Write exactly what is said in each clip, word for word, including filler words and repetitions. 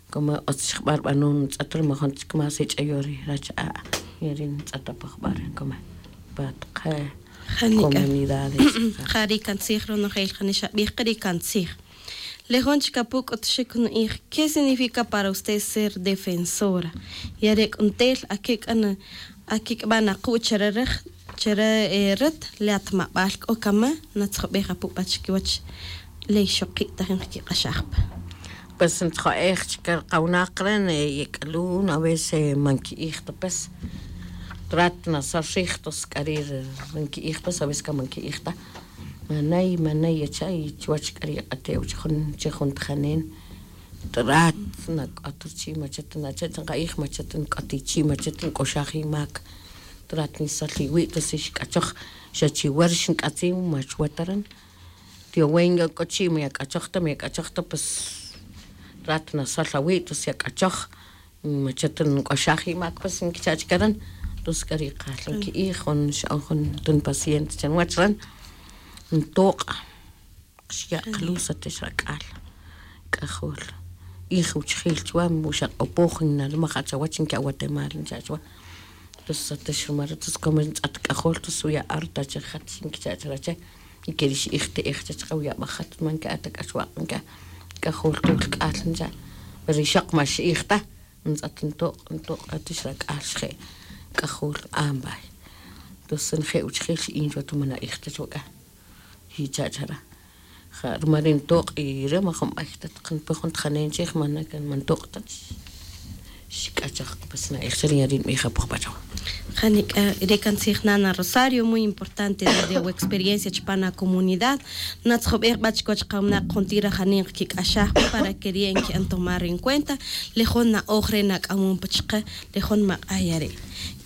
Como otz xjba' rbanon ntz'et ri majun chik más ich'ayo ri rach'a'. Yari ntz'et apajba' ri como pa taqe comunidades. Jari' kantzij ronojel jani xabij qa ri kantzij. Le jun chik apu' k'utuxik nu'ij, ¿qué significa para usted ser defensora? Yare' k'u ntel akik'an akik'b'a' naquw chare rij chare ret le atmab'al k'o kama natzjob'ej apu' pa chikiwach le ixoqi' tajin qkiq'axaj pa. Pues ntzjo'ej chike ri qawinaq re' yek'alun a veces man ki'ij ta pues. Trat nasol rij tos k'ari' ri nki'ij pues a veces ka man ki'ij ta. Manay manay yacha' y chuwach k'ari' yeq'atew chi jun chi jun tajanen. Trat nak'ot ruchi' machata nacha' chi nqa'ij machata nk'ot ichi' machata nk'oxaj imak. Trat nisol iwi' tos ixk'achoj xa chiwa ri xink'atzin ma chuwa ta ran. Tiowen ya k'o chi' ma yak'achoj ta ma yak'achoj ta pues. Trat nasol awi' tos yak'achoj. Machata nk'oxaj imak pues nkicha' chike ran. Tos k'ari' qal nki'ij jun xa'on jun tun paciente cha nwach ran. Ntoq' xya' qaluz atex rak'al. K'ajol ij wuchjil chuwa xaq'opoj nalmaj achawach nki awatemal ncha' chuwa. Tos atex rumal re' tos como ntz'at k'ajol tos wuya' arta che jat nkicha' charache. Y keri' xi'ij te'ej chach qawuyab'aj jat man nki'a ta k'axwaq' nki'a. K'ajol tol k'al ncha'. Pero ixoq ma xi'ij ta. Ntz'at ntoq' ntoq' atex rak'al xje'. K'ajol ambay. Tos nje' wuchjil xi'in chuwa ta man a'ij ta chuwa k'a. Yicha' chara. Ja' rumal ri ntoq' y re' majun b'ay ta taq npe jun tajanen chij mana kan man ntoq' ta. Xk'achaj pues na'ej chara ya ri nb'ij apoj b'achaw. Janik'a re' kantzij nana Rosario, muy importante desde wu experiencia chupan akomunidad. Natzjob'ej b'a chikiwach qawinaq juntir ajanin qkik'axaj pa para que ri' nki'an tomar en cuenta le jun na'oj re' nak'amon pa chiqe le jun maq'a' yare'.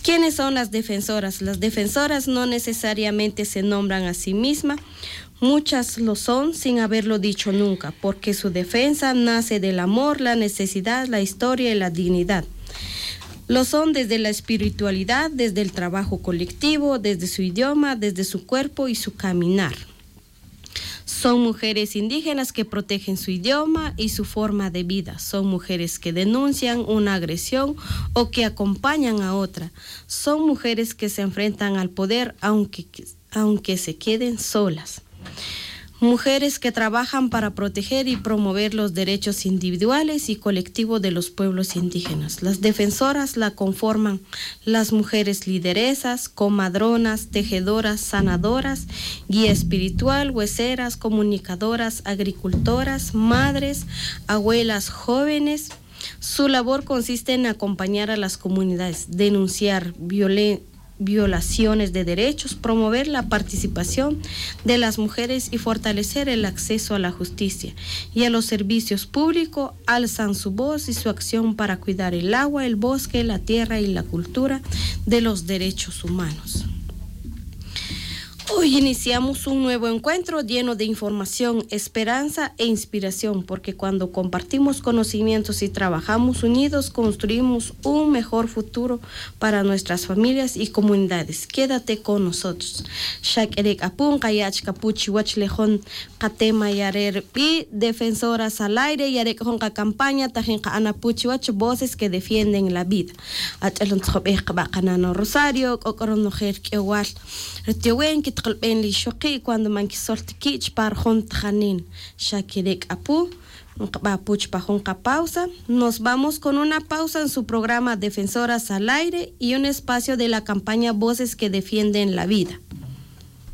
¿Quiénes son las defensoras? Las defensoras no necesariamente se nombran a sí mismas. Muchas lo son sin haberlo dicho nunca, porque su defensa nace del amor, la necesidad, la historia y la dignidad. Lo son desde la espiritualidad, desde el trabajo colectivo, desde su idioma, desde su cuerpo y su caminar. Son mujeres indígenas que protegen su idioma y su forma de vida. Son mujeres que denuncian una agresión o que acompañan a otra. Son mujeres que se enfrentan al poder aunque, aunque se queden solas. Mujeres que trabajan para proteger y promover los derechos individuales y colectivos de los pueblos indígenas. Las defensoras la conforman las mujeres lideresas, comadronas, tejedoras, sanadoras, guía espiritual, hueseras, comunicadoras, agricultoras, madres, abuelas, jóvenes. Su labor consiste en acompañar a las comunidades, denunciar violen- violaciones de derechos, promover la participación de las mujeres y fortalecer el acceso a la justicia y a los servicios públicos, alzan su voz y su acción para cuidar el agua, el bosque, la tierra y la cultura de los derechos humanos. Hoy iniciamos un nuevo encuentro lleno de información, esperanza e inspiración, porque cuando compartimos conocimientos y trabajamos unidos, construimos un mejor futuro para nuestras familias y comunidades. Quédate con nosotros. Xa k'ere' k'a pu' nqaya' chik apu' chiwach le jun qatema yare' rib'i' Defensoras al Aire. Yare' k'a jun qacampaña tajin nqa'an apu' chiwach Voces que Defienden la Vida. Ach'el ntzjob'ej qa b'a' qanano' Rosario, k'o k'a ronojel k'ewal ri tiowen kitaqlb'en le ixoqi' cuando man kisol ta ki' chupan ri jun tajanin. Xa kere' k'a pu' nqab'a' apu' chupan jun qapausa. Nos vamos con una pausa en su programa Defensoras al Aire y un espacio de la campaña Voces que Defienden la Vida.